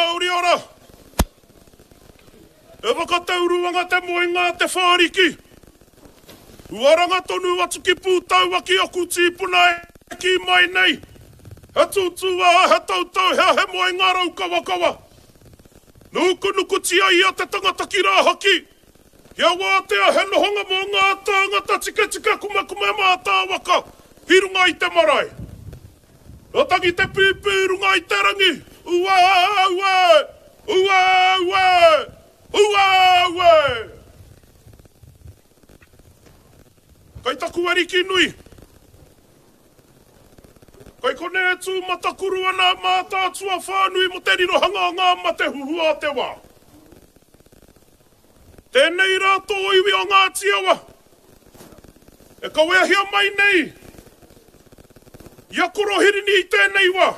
mauri ora! E whakatauruanga te moenga a Te Whāriki. Uaranga tonu atu ki Pūtaua ki aku tīpuna e kī mai nei, He tūtūā, he tautau, he he moenga raukawakawa. Nukunukutia ia te tangata ki rāhaki, kia wātea he nohonga mō ngā tāngata tiketika kumakume mātāwaka i runga i te marae. Ka tangi te pīpī i runga i te rangi, Uē, uē, uē, uē, uē, uē! Kai taku ariki nui, kai konei e tū matakuru ana a Mātaatua whānui mō te rirohanga o ngā mate huhua o te wā. Tēnei rā tō iwi o Ngāti Awa e kaweahia mai nei i a Korohirini i tēnei wā.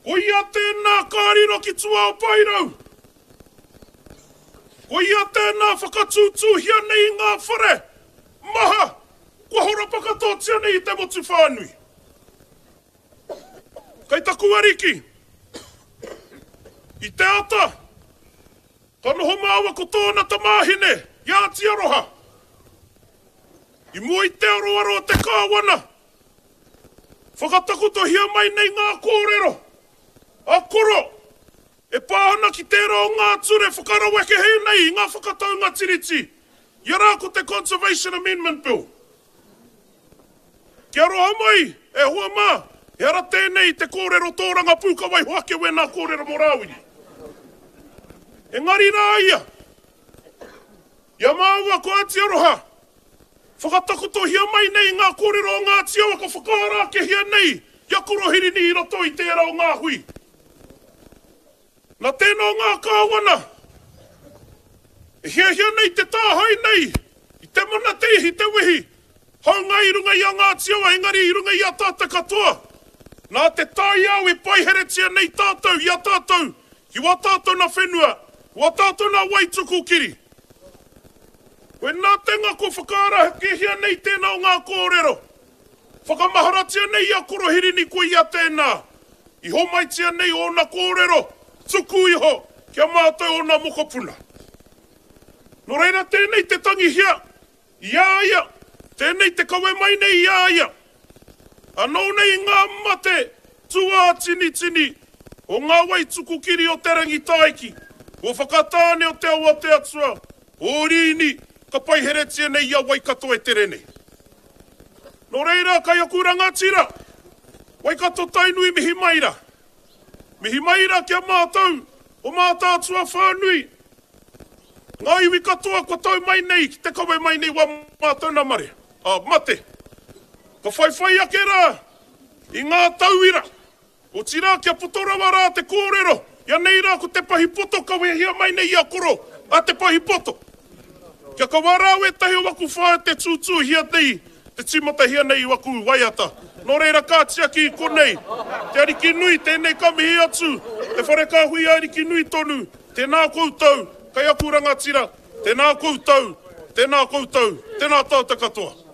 Koia tēnā ka riro ki tua o Paerau. Koia tēnā whakatūtūhia nei i ngā whare maha kua horapa katoatia nei i te motu whānui. Kei taku ariki, i te ata, ka noho māua ko tōna tamāhine, i a Atiaroha. I mua i te aroaro o te Kāwana, whakatakotohia mai nei ngā kōrero a Koro e pā ana ki tērā o ngā ture whakaraweke nei i ngā whakataunga Tiriti, ia rā ko te Conservation Amendment Bill. Kia aroha mai, e hoa mā, ehara tēnei i te kōrero tōrangapū ka waiho ake wēnā kōrero mō Rāwiri. Engari rā ia, i a māua ko Āti Aroha, whakatakotohia mai nei ngā kōrero o Ngāti Awa ka whakaara akehia nei i a Korohirini i roto i tērā o ngā hui. Na tēnā o ngā kāwana e hiahia nei te tāhae nei i te mana, te ihi, te wehi, hāunga i runga i a Ngāti Awa engari i runga i a tātou katoa. Nā te taiao e paiheretia nei tātou i a tātou ki wā tātou na whenua, wā tātou na wai tuku kiri. Koinā te ngako whakaarahekehia nei tēnā o ngā kōrero. Whakamaharatia nei i a Korohirini ko ia tēnā, i homaitia nei ōna kōrero tuku iho ki a mātou ōna mokopuna. Nō reira tēnei te tangihia i a ia, tēnei te kawe mai nei i a ia. Anō nei ngā mate tūātinitini o ngā wai tuku kiri o Te Rangitāiki, o Whakatāne o Te Awa o Te Atua, o Riini, ka paiheretia nei i a Waikato e tere nei. Nō reira, kai aku rangatira, Waikato Tainui mihi mai ra. Mihi mai ra ki a mātou o Mātaatua whānui, ngā iwi katoa kua tau mai nei ki te kawe mai nei wā mātou nā mare, ā, mate. Ka whaiwhai ake rā i ngā tauira Otirā, kia poto rawa rā te kōrero, ia nei rā ko te pahi poto ka wehea mai nei i a Koro, a te pahi poto. Kia kaua rā wētahi o waku whaea te tūtūhia nei, te tīmatahia nei i waku waiata. Nō reira ka tiaki i konei, te Ariki nui, tēnei ka mihi atu, te whare kāhui Ariki nui tonu, tēnā koutou, kei aku rangatira, tēnā koutou, tēnā koutou, tēnā tātou katoa.